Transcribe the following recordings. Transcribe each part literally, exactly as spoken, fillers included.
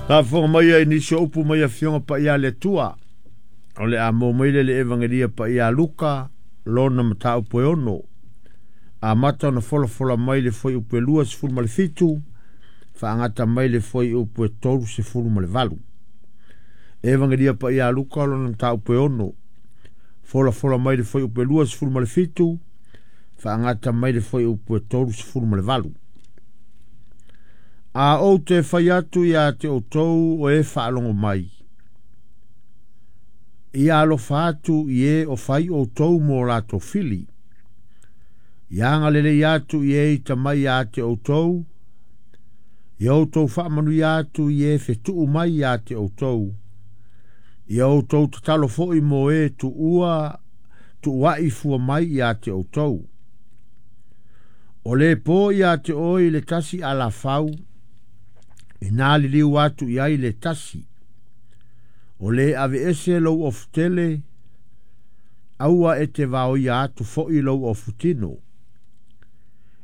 Faafofoga mai ai nisi o upu mai afioga paia a le Atua. O le a maua mai lea i le Evagelia paia a Luka, lona mataupu e ono. Amata ona folafola mai le fuaiupu e luasefulu ma le fitu, faagata mai le fuaiupu e tolusefulu ma le valu. Evagelia paia a Luka, lona mataupu e ono. Folafola mai le fuaiupu e luasefulu ma le fitu, faagata mai le fuaiupu e tolusefulu ma le valu. A ou te fai atu ia te outou o e faalogo mai, ia alofa atu i e o fai outou mo latou fili. Ia agalelei atu i e ita mai ia te outou, ia outou faamanuia atu i e fetuu mai ia te outou. Ia outou tatalo foi mo e tuua tuuai fua mai ia te outou. O le po ia te oe i le tasi alafau, ina liliu atu i ai le tasi. O le aveese lou ofutele, aua e te vaoia atu foi lou ofutino.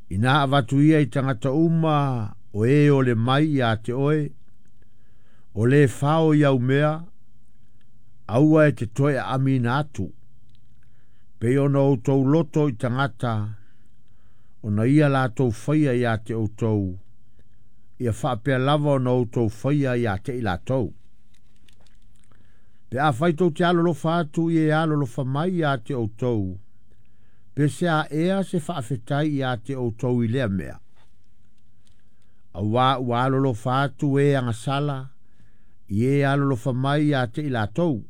Ina avatu ia i tagata uma o e o le mai ia te oe, o le fao i au mea, aua e te toe aamina atu. Pei ona outou loto i tagata, ona ia latou faia ia te outou, ia faapea lava ona outou faia ia te i latou. Pe afai tou te alolofa atu i e alolofa mai ia te outou, pe se a ea se faafetai ia te outou i lea mea. Auā ua alolofa atu e agasala, i e alolofa mai ia te i latou.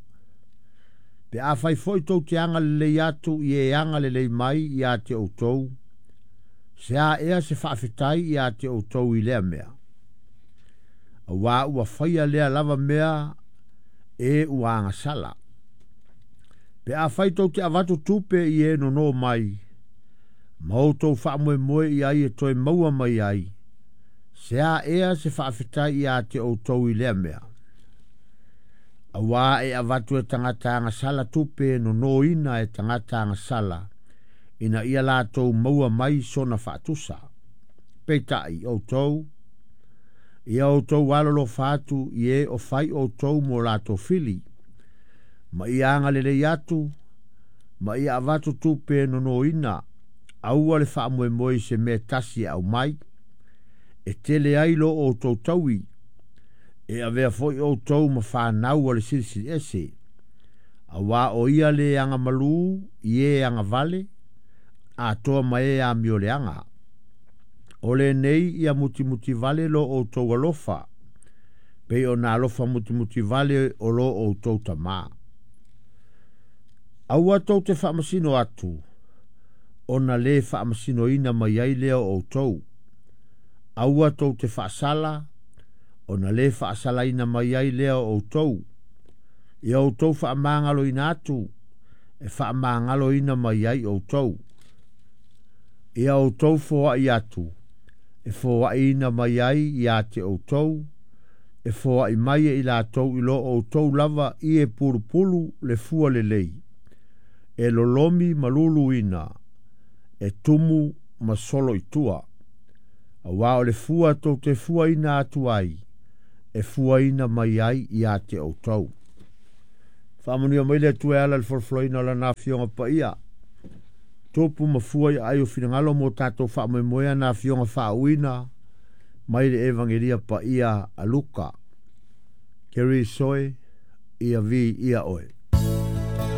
Pe afai foi tou te agalelei atu i e agalelei mai ia te outou, se a ea se faafetai ia te outou i lea mea. Auā ua faia lea lava mea e ua agasala. Pe afai tou te avatu tupe i e nono mai, ma outou faamoemoe i ai e toe maua mai ai, se a ea se faafetai ia te outou i lea mea. Auā e avatu e tagata agasala tupe e nonoina e tagata agasala, ina ia latou maua mai sona faatusa. Peitai outou, ia outou alolofa atu i e o fai outou mo latou fili, ma ia agalelei atu, ma ia avatu tupe e nonoina, aua le faamoemoe i se mea tasi e aumai, e tele ai lo outou taui, e avea foi outou ma fanau a le Silisili Ese. Auā o ia le agamalu i e agavale, atoa ma e amioleaga. O lenei ia mutimutivale lo outou alofa, pei ona alofa mutimutivale o lo outou Tamā. Aua tou te faamasino atu, ona le faamasinoina mai ai lea o outou. Aua tou te faasala, ona le faasalaina mai ai lea o outou. Ia outou faamagaloina atu, e faamagaloina mai ai outou. Ia outou foai atu, e foaiina mai ai ia te outou, e foai mai e i latou i lo outou lava i e pulupulu le fua lelei, e lolomi ma luluina, e tumu ma solo i tua. Auā o le fua tou te fuaina atu ai, e fuaina mai ai ia te outou. Faamanuia mai le Atua e ala i le folafolaina o lana afioga paia. Tupu ma fua i aai o finagalo mo tatou faamoemoea na afioga faauuina mai le Evagelia paia a Luka. Keriso e, ia viia oe.